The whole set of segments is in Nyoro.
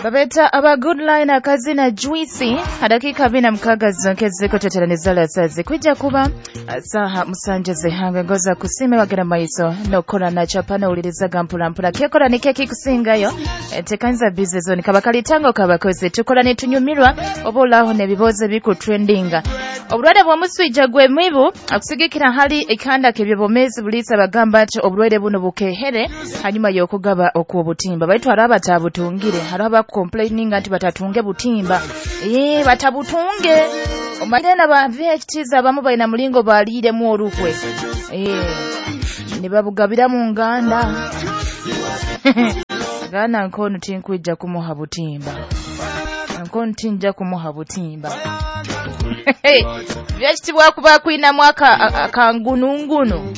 Babeta aba Good Line akazina Juicy. Hadakika 46 zonke zikuteteraneza lasazi kwijja kuba saha 7 zihanga ngoza kusime wagera maiso nokora na chapana ulirizaga mpula kyekora ni keki kusingayo tekanza busy zone kabakalitango kabakoze tukora netunyumirwa obolaho nebiboze biku trendinga. Obulwadde bw'omusujja gw'emibu akusigikira hali ekanda kebyobomezi bulisa bagamba nti obulwaire buno bukehere hanyuma y'okugaba okw'obutimba, baitu hari abatabutungire, hari abakomplaininga nti batatunge butimba, batabutunge omanyire na ba VHTs abamu balina mulingo baliiremu olukwe, ne babugabira mu nganda. Gana nkono tinkwija kumuha butimba, nkono tinja kumuha butimba. Vyakitibwa kuba kwina mwaka akangunungunu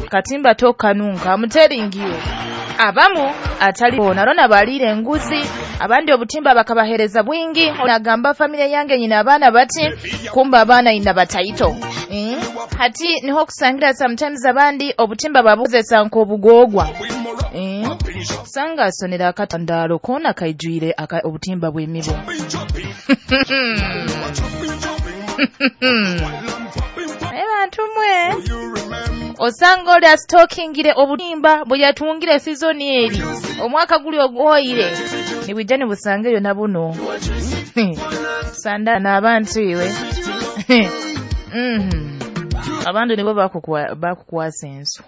katimba tokanunka amuteringiyo abamu atali narona balire enguzi, abandi obutimba bakabahereza bwingi. Nagamba familia yange nyina abaana bati kumba abaana ina bataito. Hati niho kusangira sometimes abandi obutimba babuzesa nk'obugogwa. Sanga asonera akatandalo kona kaijwire obutimba bw'emibu. Abantu mwe osanga oli asitokingire obutimba bwe yatungire season eri omwaka guli ogwoyire nibwijja nibusangeyo na buno. Sanda n'abantu iwe. Abantu nibo bakukwasa ensu.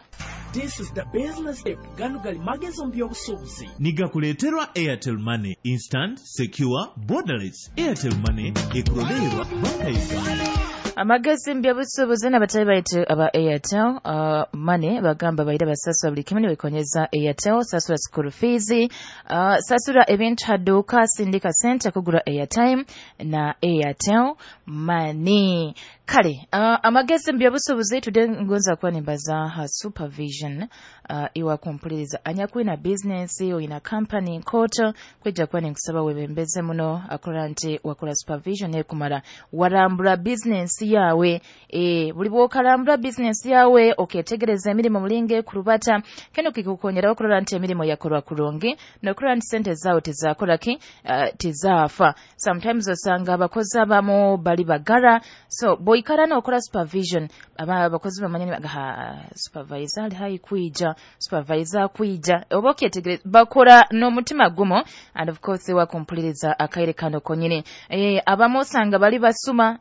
This is the business tip. Gano gali magezi mu by'obusuubuzi. Nigakuleeterwa Airtel Money, instant, secure, borderless. Airtel Money ekurolerwa Banka Uganda. Amagezi mu by'obusuubuzi n'abatali baitu aba Airtel Money bagamba baira basasula buli kimu nibikonyeza Airtel, sasula school fees, sasula ebintu haduka, sindika sente kugura airtime na Airtel Money. Kale amagezi mu by'obusuubuzi today ngonza kuba nimbaza ha supervision. Iwa kumpuliriza anyakwina business oyina company nkoto kwijja kuba ninkusaba webembeze muno akola nti wakola supervision ekumala warambula business yawe. Buli bwokalambula business yawe oketegereza emirimu mulinge kurubata keno kikukonyera okulora nti emirimu yakorwa kurungi nokulora nti sente zaawe tizakoraki tizaafa. Sometimes osanga abakozi abamu bali bagara, so boikara nokola supervision abakozi bamanya supervisor ali hayi kwija, supervisor kwija oba okyetegereza bakora n'omutima gumu. And of course wakumpuliriza akaire kano konyini. Abamu osanga bali basuma,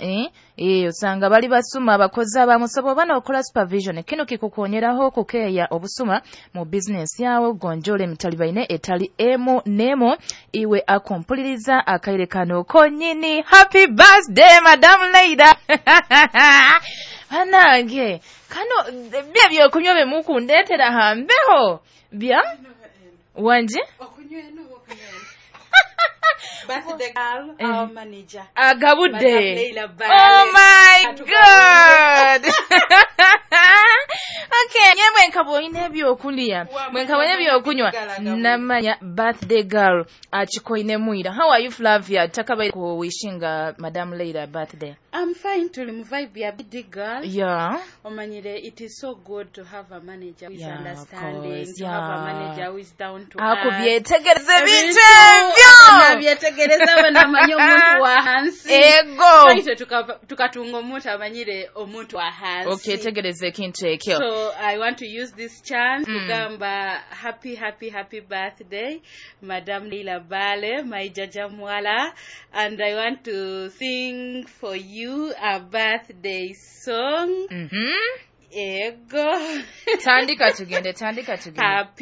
osanga bali basuma abakozi abamu, so bw'oba n'okola supervision kino kikukonyeraho okukeeya obusuma mu business yawe, gonjole emitalibaine etali emu nemu. Iwe akumpuliriza akaire kano konyini, happy birthday Madam Leila. Banange kano bya byokunywa bemukundetera hambeho bya wanje birthday girl, our manager agabudde. Oh my God. Okay, nyemwe nkabonye ebyokulya, mwe nkabonye ebyokunywa namanya birthday girl achikoine mwira. How are you Flavia? Takabaye ku wishinga Madam Leila birthday. I'm fine, tuli mu vibe ya birthday girl. Yeah. Omanyire, it is so good to have a manager who is understanding, course, to have a manager who is down to earth. Akubyetegereza ebintu ebyo. Nabyetegereza banamanya omuntu wa hansi. Ego. So tukatunga omuntu amanyire omuntu wa hansi. Okay, tegereza ekintu ekyo. So I want to use this chance kugamba happy happy happy birthday Madam Leila Bale, my jaja mwala, and I want to sing for you a birthday song. Ego. Tandika tugende, tandika tugende. Happy